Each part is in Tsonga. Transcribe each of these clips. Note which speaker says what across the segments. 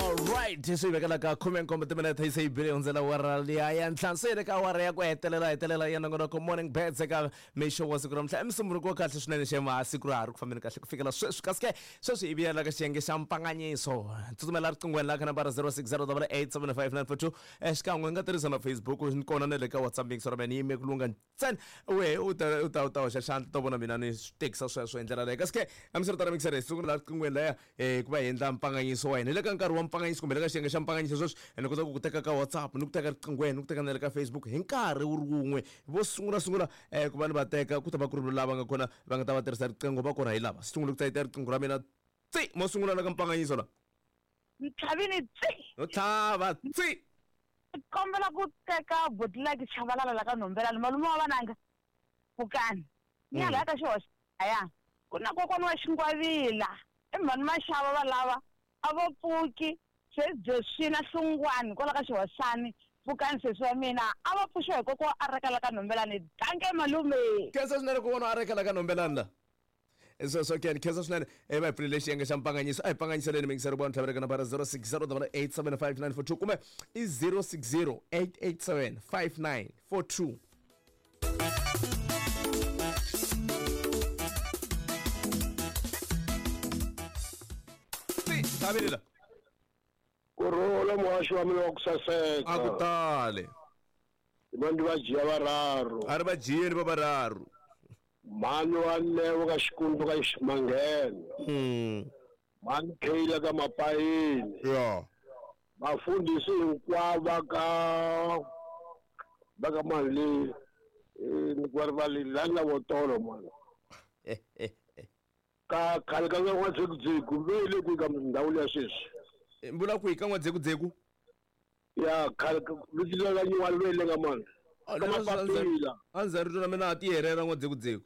Speaker 1: Alright, swi hi vekela ka 17 timinete yi se yi bile hundzela awara liya ya ntlhanu se yi le ka awara ya ku hetelela hetelela ya nongonoko Morning Birds eka mixo wa siku namuntlha i musunguri wa kahle swinene xema siku ra ha ri ku fambeni kahle ku fikela sweswi kasi ke sweswi hi vuyela ka xiyenge xa mpanganyiso tsutsumela riqinghweni la ka nambara 06087594 xikan'we nga tirhisa na Facebook ni kona na le ka WhatsApp mix ra mina yi yime ku lungha ntsena wehe u ta u ta u ta hoxa xandla to vona mina ni swi tekisa sweswo hi ndlela leyo kasi ke hambiswiritano mixere hi sungula riqinghweni laya ku va hi endla mpanganyiso wa hina hi le ka nkarhi wa mpanganyiso kumbe le ka xiyenge xa mpanganyiso sweswi ni kota ku ku teka ka WhatsApp ni ku teka riqinghweni ni ku teka na le ka Facebook hi nkarhi wu ri wun'we vo sungula sungula ku va ni va teka ku ta va ku ri lava nga kona va nga ta va tirhisa riqingho va kona hi lava sungula ku tsayita riqingho ra mina tsi mo sungula la ka mpanganyiso la
Speaker 2: Ntlhavini tsi!
Speaker 1: No tlhava tsi!
Speaker 2: Ni kombela ku teka Botilaki Chabalala la ka Nhombelani, malume wa vananga, Pfukani. Ni ya laya ka xihoxo laya. Ku na kokwani wa Xingwavila, i mhani Mashava va lava, a vo pfuki, sesi Joswina Hlungwani kwala ka Xihoxani, Pfukani sesi wa mina, a va pfuxiwa hi kokwa wa Areka la ka Nhombelani. Dankie malume!
Speaker 1: Khensa swinene kokwana wa Areka la ka Nhombelani la. Sweswo ke ni khensa swinene e va hi pfulele xiyenge xa mpanganyiso a hi panganyiseleni mingiseri vona tlhavela ka nambara 0608875942 kumbe i 0608875942. Tlhavelela.
Speaker 3: Kurhula muhaxi wa mina wa ku saseka.
Speaker 1: A ku tale.
Speaker 3: Va ndi va dzhia vararu.
Speaker 1: A ri va dzhieni va vararu.
Speaker 3: Mhani wa Neo ka Xikundu ka Ximanghena. Mhani Kayla ka Mapayini.
Speaker 1: Ya.
Speaker 3: Vafundhisi hinkwavo va ka va ka mani le ni ku va rivali la ni la votolo mani. Ka khale ka n'wa-Dzekudzeku ve le kwihi ka ndhawu liya sweswi?
Speaker 1: Vula kwihi ka n'wa-Dzekudzeku?
Speaker 3: Ya khale vito la nyiwani ve le ka mani? Ka Mapapila.
Speaker 1: A ndzi rito ra mina a ti herera n'wa-Dzekudzeku.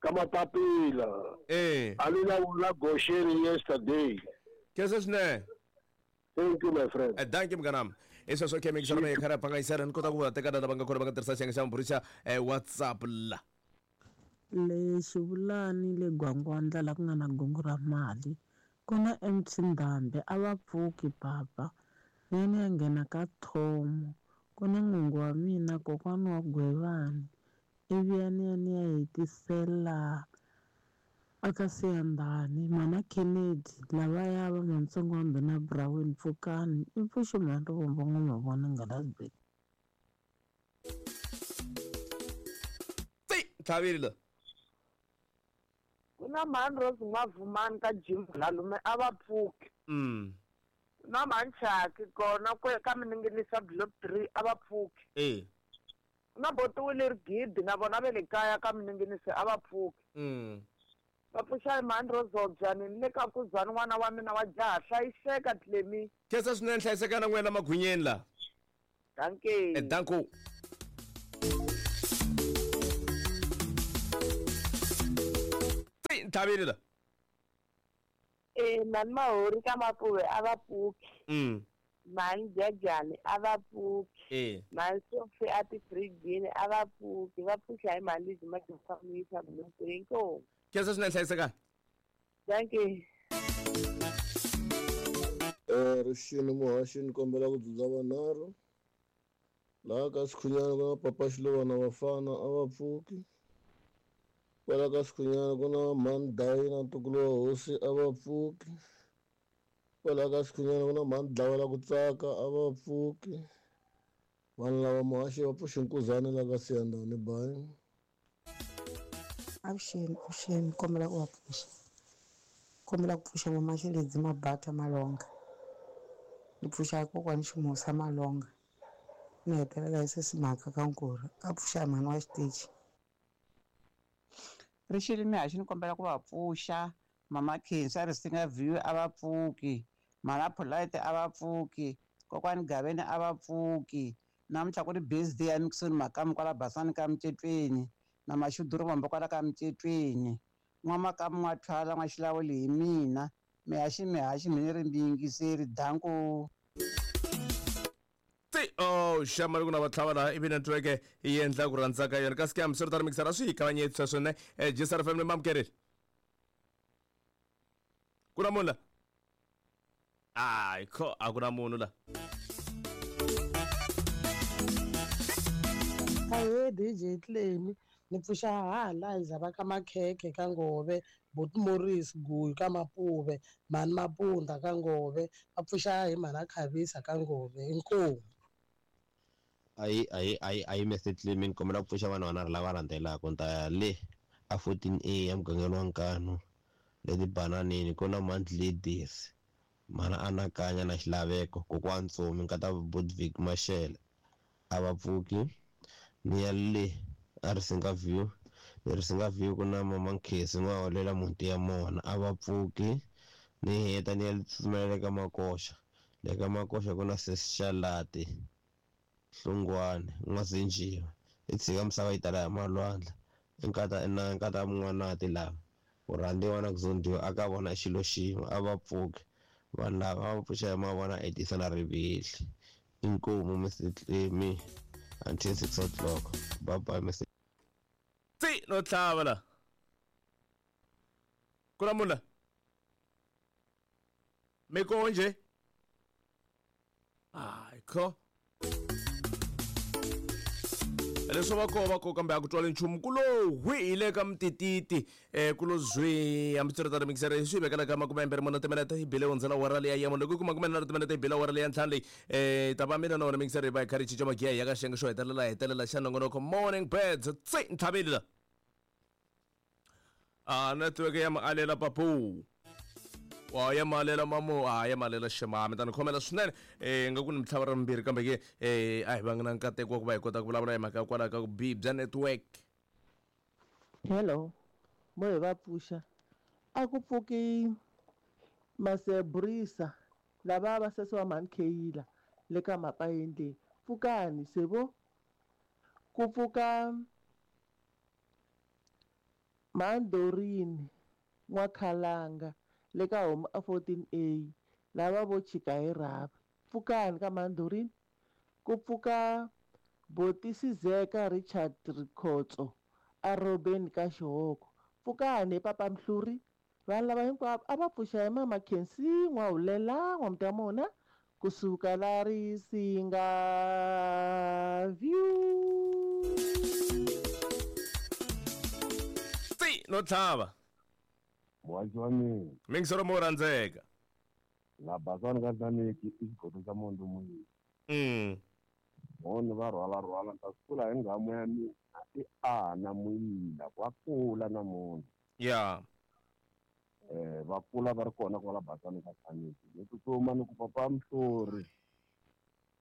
Speaker 3: Ka Mapapila.
Speaker 1: Eh.
Speaker 3: A ni la la Gosheni yesterday.
Speaker 1: Khensa swinene.
Speaker 3: Thank you my friend.
Speaker 1: Eh, dankie mnganami. I sweswo ke mixo ra kha ra phangayisela ni kota ku va teka lava nga kona va nga tirhisa xiyenge xa maburi xa eh, WhatsApp la.
Speaker 4: Le Xivulani le Gwangwandla la ku nga na gongo ra mali ku na MC Ndhambi a va pfuki papa ni ya ni ya nghena ka Thomo ku na n'wingi wa mina kokwani wa Gwevani ivi ya ni ya ni ya hetisela aka Siyandhani mhana Kennedy lavaya va Mantsongo wa Ndhuna Brown pfukani i pfuxi mhani Rivombo N'wamavona Nghalazibeni.
Speaker 1: Tsi tlhavile la.
Speaker 2: Ku na mhani Rose N'wavumani ka Jim Malume a va pfuki. Ku na mhani Chaki kona kwe ka Mininginisa Block 3 a va pfuki.
Speaker 1: Eh.
Speaker 2: Ku na Botiwile Rigidi na vona ve le kaya ka Mininginisi a va pfuki. Va pfuxa hi mhani Rozobya ni le ka Kuzani n'wana wa mina wa jaha hlayiseka Clemy.
Speaker 1: Khensa swinene hlayiseka na n'wina magwinyeni la.
Speaker 2: Dankie.
Speaker 1: Eh, danko. Tsi tlhavile la.
Speaker 2: Eh, mhani Mahori ka Mapuve a va pfuki. Mhani Jajani a va pfuki.
Speaker 1: Eh.
Speaker 2: Mhani Sophie a tifirijini a va pfuki. Va pfuxa hi mhani Lizzy Madofamisa Blue Inkomu.
Speaker 1: Khensa swinene hlayiseka.
Speaker 2: Dankie.
Speaker 5: Eh, rixini muhaxi ni kombela ku dzudza vanharhu laha ka Sikhunyana ku na papa Xilovana vafana a va pfuki kwala ka Sikhunyana ku na mhani Dayina ntukulu wa hosi a va pfuki kwala ka Sikhunyana ku na mhani Dlawela ku tsaka a va pfuki vanhu lava muhaxi va pfuxi nkuzani la ka Siyandhani bayi.
Speaker 4: Avuxeni, avuxeni, kombela ku va pfuxa. Kombela ku pfuxa Mama Xiledzi Mabata Malonga. Ni pfuxa kokwani Ximusa Malonga. Ni hetelela hi sesi Mhaka ka Nkurhu. A pfuxa mhani wa xitichi.
Speaker 6: Rixile mihaxi ni kombela ku va pfuxa Mama Khensa Risinga View a va pfuki Mhana Polite a va pfuki Kokwani Gaveni a va pfuki Namuntlha ku ri birthday ya Nixon Makamu kwala Basani ka Mcetweni na Mashudu Rivombo kwala ka Mcetweni N'wa-Makamu N'wa-Thwala N'wa-Xilawuli hi mina Mihaxi mihaxi mi ni ri miyingiseri danko.
Speaker 1: Ti oh xama loko na va tlhava laha ivi network yi endla ku rhandza ka yona kasi ke hambiswiritano mixer a swi hi kavanyeti sweswo ne eh, Gsr family mamukerile ku na munhu la. Hayi kho, a ku na munhu la.
Speaker 4: Ahee DJ Tlemi, ni pfuxa haha Liza va ka Makhekhe ka Ngove, Buti Morris Guyu ka Mapuve, Mhani Mapunda ka Ngove, va pfuxa hi Mhana Khavisa ka Ngove. Inkomu.
Speaker 7: Ayi ayi ayi ayi Mr Clement, ni kombela ku pfuxa vanhu vanharhu lava landzelaka. Ni ta ya le a 14A ya mugangeni wa Nkanu le tibananini ku na Month Ladies, Mhana Anakanya na Xilaveko, Kokwani Ntsomi, nkata Budvig Mashele a va pfuki. Ni ya le a Risinga View, le Risinga View ku na Mama Nkhesi N'waholela Muti ya Mona a va pfuki. Ni heta ni ya tsutsumela le ka Makoxa, le ka Makoxa ku na Sesi Xalati Hlungwane N'wazinjiwa, i tshika misava yi tala hi malwandla, i nkata na nkata mun'wanati lava ku rhandziwa na ku zondiwa a ka vona xilo xin'we a va pfuki. Vanhu lava va pfuxa hi mavona Edisa na Rivihli. Inkomu Mr Tlemi until 6 o'clock. Bye bye Mr.
Speaker 1: Tsi no tlhava la. Ku na munhu la. Mi konje? Hayi kho. Leswo va koho va koho kambe a ku twali nchumu ku lo hwi hi le ka mutititi um ku lo zwi hambiswiritano mikisere swi vekela ka 24 timinete yi bile hundzela wara leya ya mune loko yi ku 43 timinete yi bile wara leya ntlhanu leyi um ta va mina na wena mikisere hi va hi kha ri cinca magiya hi ya ka xiyenge xo hetelela hetelela xa nongonoko Morning Birds. Tsi ntlhaveli la a network ya maalela papu wa ya maalela mamu a ya maalela xema mi ta ni khomela swinene um nga ku ni mitlhava ra mimbirhi kambe ke um a hi vangi na nkateko wa ku va hi kota ku vulavula hi mhaka ya kwalaho ka ku bihi bya network.
Speaker 8: Hello, mo hi va pfuxa. A ku pfuki Masebrisa lava va sesi wa mhani Kheyila le ka Mapayeni le. Pfukani se vo. Ku pfuka Mhani Dorini N'wakhalanga le ka homu a 14A lava vo chika hi rhavi. Pfukani ka Mhani Dorini. Ku pfuka Botisizeka Richard Rikhotso a Robeni ka Xihoko. Pfukani he Papa Mhluri. Vanhu lava hinkwavo a va pfuxa hi Mama Khensi N'wahulela N'wamtamona kusuka la Risinga View.
Speaker 1: Tsi no tlhava.
Speaker 3: Muhaxi wa mina.
Speaker 1: Mingisero mo rhandzeka.
Speaker 3: La basani ka Tlaniki i xigodo xa Mondo Muyini. Moni va rhwala rhwala ni ta swi kula hi nghamu ya mina i ana muyila wa kula namuntlha.
Speaker 1: Ya.
Speaker 3: Va kula va ri kona kwala basani ka Tlaniki. Ni tsutsuma ni ku papa Mhlori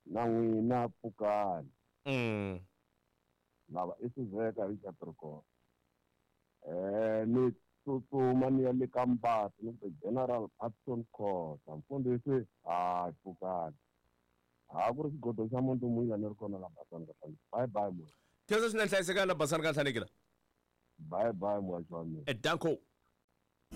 Speaker 3: na n'wina pfukani. Lava i Sizeka hi Capricorn. Ni tsutsuma ni ya le ka Mbati ni ku General Patson Khosa mfundhisi ha pfukani. Ha ku ri xigodo xa Mondo Muyila ni ri kona la basani ka Tlaniki. Bye bye moya.
Speaker 1: Khensa swinene, hlayisekani la basani ka Tlaniki la.
Speaker 3: Bye bye muhaxi wa mina.
Speaker 1: Danko.